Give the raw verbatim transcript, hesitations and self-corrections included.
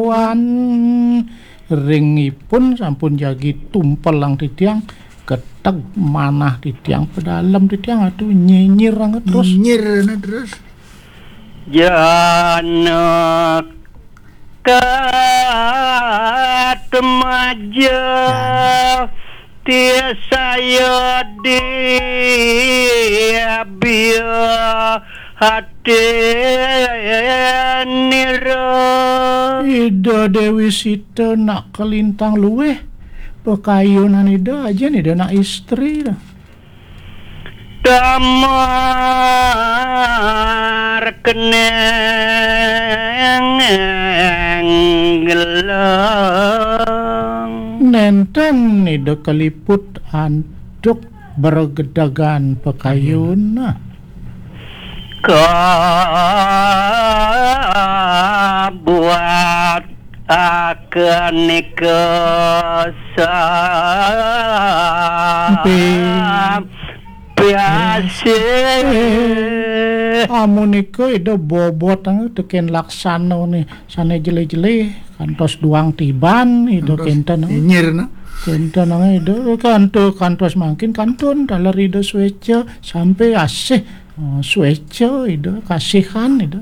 Wan ring ipun sampun jagi tumpelang titiang, keteg manah titiang, pedalem titiang, aduh, nyinyir anget terus. Nyinyir anget terus. Janaka temaja tiasaya diabia hatinira. Ida Dewi Sita nak kalintang luwih, pakayunan Ida, ajen Ida nak istri dah. Damar keneng gelang. Nenten Ida kaliput antuk bergedagan pakayun. Kabuat akan nikasa. Empi. Piasih. Eh, amunika Ida bobot, eh, teken laksana ni, sane jelih-jelih, kantos duang tiban, Ida. Kantos kenten, eh. Nyinyir, nah. Kenten, eh, Ida, kanto-, kantos mangkin kantun, taler Ida sueca, sampai asih, eh, sueca, Ida, kasihan, Ida.